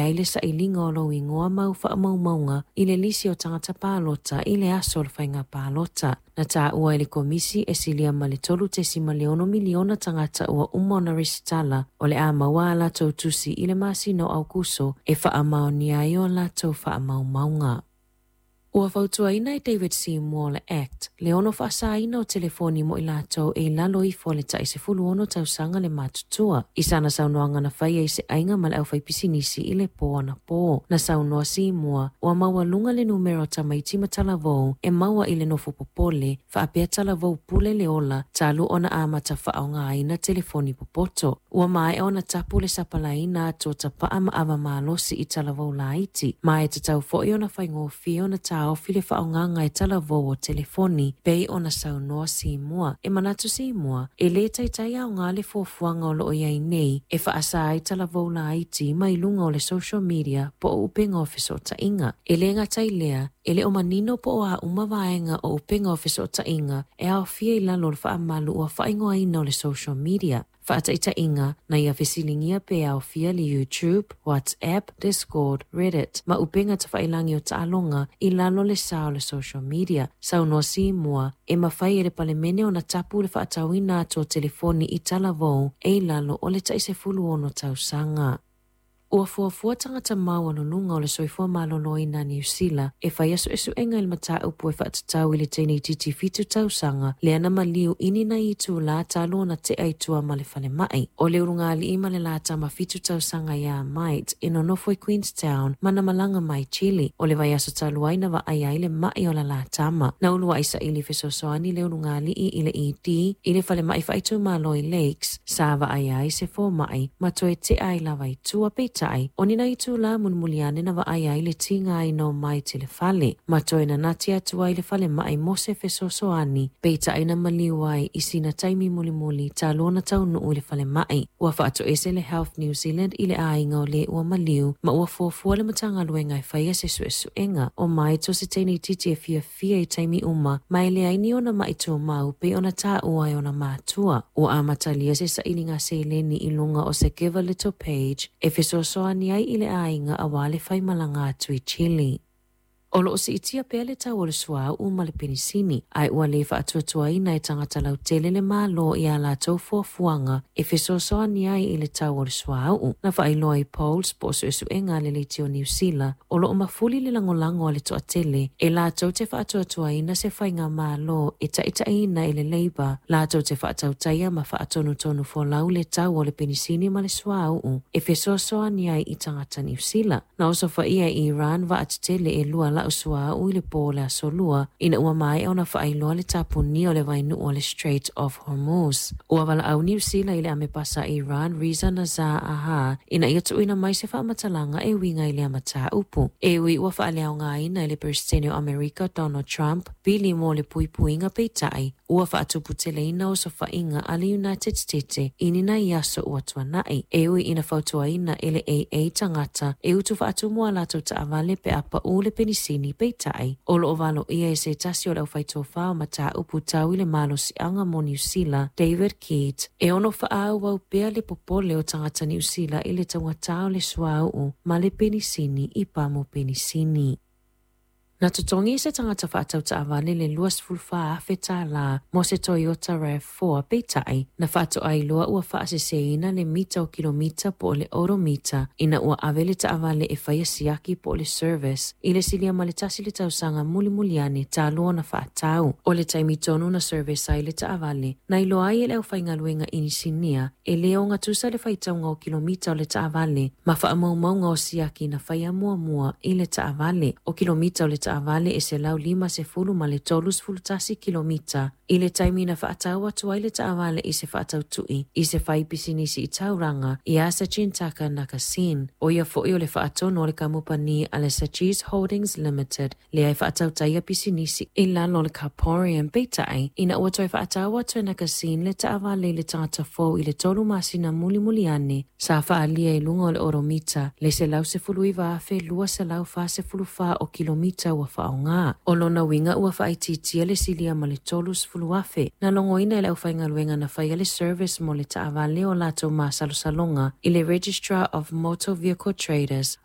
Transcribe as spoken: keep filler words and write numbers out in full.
ai le sailiga o lou igoa ma au faamaumauga i le lisi o tagata palota i le aso o le faiga palota. Na taua e le Komisi e silia ma le tolu tesima le ono miliona tagata ua uma ona resitala o le a maua a latou tusi i le masina o Aokuso e faamaonia ai o latou faamaumauga. Ua fautuaina e David Seymour le Act le ono faasaina o telefoni mo i latou e i lalo ifo o le tai sefulu ono tausaga le matutua. I sana saunoaga na faia i se aiga ma le aufaipisinisi i le po anapo. Na saunoa Seymour ua maualuga le numera o tamaiti ma talavou e maua i le nofo popole faapea talavou pule le ola talu ona amata faaaogaina telefoni popoto. Ua maea ona tapu le sapalaina atu o tapaa ma ava malosi i talavou laiti. Ma e tatau foi ona faigofie ona taofi le faaaogaga e talavou o telefoni pei ona saunoa Seymour. E manatu Seymour e le taitai aoga le fuafuaga o loo i ai nei e faasa ai talavou laiti mai luga o le social media po o upega o fesootaiga. E le gata i lea, e le o manino po o a uma vaega o upega o fesootaiga e aofia i lalo o le faamalu ua faaigoaina o le social media. Faataitaiga na ia fesiligia pe aofia le YouTube, WhatsApp, Discord, Reddit ma upega tafailagi o taaloga i lalo le sa o le social media. Saunoa Seymour e mafai e le Palemene ona tapu le faatauina atu o telefoni i talavou e i lalo o le tai sefulu ono tausaga. Ua fuafua tagata maualuluga o le soifua maloloina Niu Sila e faia suesuega i le mataupu e faatatau i le teineitiiti fitu tausaga lea na maliu i ni nai itulā talu ona tea i tua ma le falemai. O le ulugalii ma le latama fitu tausaga ia Mite e nonofo i Queenstown ma na malaga mai Chile. O le vaiaso talu ai na vaai ai le mai o la latama. Na uluai saili fesoasoani le ulugalii i le E D i le falemai faaitumalo i Lakes sa vaai ai se fomai ma toe tea ai lava i tua peitai. O ni nai itulā mulimuliane na vaai ai le tiga ai no mai te le fale. Ma toe nanati atu ai le falemai mo se fesoasoani peitai na maliu ai i sina taimi mulimuli talu ona taunuu i le falemai. Ua faatoese le Health New Zealand i le aiga o le ua maliu ma ua fuafua le Matagaluega e faia se suesuega o mai to se teineitiiti e fiafia i taimi uma ma e leai ni ona mai tumau pei ona taua e ona matua. Ua amatalia se sailiga seleni i luga o se Give a Little page e fesoasoani ai i le aiga aua le faimalaga atu i Chile. O loo siitia pea le tau o le suauu ma le penisini, ae ua le faatuatuaina e tagata lautele le Malo i a latou fuafuaga e fesoasoani ai i le tau o le suauu. Na faailoa i Poles po o suesuega a le leitio o Niu Sila, o loo mafuli le lagolago a le toatele e latou te faatuatuaina se faiga malo e taitaiina i le Labour, latou te faatautaia ma faatonutonu folau le tau o le penisini ma le suauu e fesoasoani ai i tagata Niu Sila. Na osofaia i Iran vaatetele e lua lau suauu i le po o le aso lua ina ua maea ona faailoa le tapunia o le vainuu o le Strait of Hormuz. Ua valaau Niu Sila i le amepasa Iran Reza Nazar Aha ina ia tuuina mai se faamatalaga e uiga i lea mataupu. E ui ua faaleaogaina e le Peresetene o Amerika Donald Trump pili mo le puipuiga peitai ua faatuputeleina osofaiga a le United States i ni nai aso ua tuanai. E ui ina fautuaina e le A A tagata e utu faatumu a latou taavale pe a pau le penisini peitai. O loo valoia e se tasi o le aufaitofā o mataupu tau i le malosiaga mo Niu Sila, David Keat, e ono faaauau pea le popole o tagata Niu Sila i le taugatā o le suauu ma le penisini i pamu penisini. Na totogi se tagata faatau taavale le luasefulu fa afe tālā mo se Toyota RAV four peitai na faatoailoa ua faaseseina le mita o kilomita po o le odomita ina ua ave le taavale e faia siaki po o le service i le silia ma le tasi le tausaga mulimuliane talu ona faatau. O le taimi tonu na service ai le taavale na iloa ai e le aufaigaluega inisinia e le ogatusa le faitauga o kilomita o le taavale ma faamaumauga o siaki na faia muamua i le taavale. O kilomita o le taavale e selau lima sefulu ma le tolu sefulu tasi kilomita i le taimi na faatau atu ai le taavale i se faatautui i se fai pisinisi i tauranga i a Sachintaka Nakasin. O ia foi o le faatonu o le kamupani a le Sachis Holdings Limited lea e faatautaia pisinisi i lalo o le Carporium peitai ina ua toe faatau atu e Nakasin le taavale i le tagata fou i le tolu masina mulimuliane sa faalia i luga o le oromita le selau sefulu iva afe lua selau fa sefulu fa o kilomita ua faaaoga. O lona uiga ua faaitiitia le silia ma le tolu sefulu afe. Na logoina e le aufaigaluega na faia le service mo le taavale o latou masalosaloga i le Registrar of Motor Vehicle Traders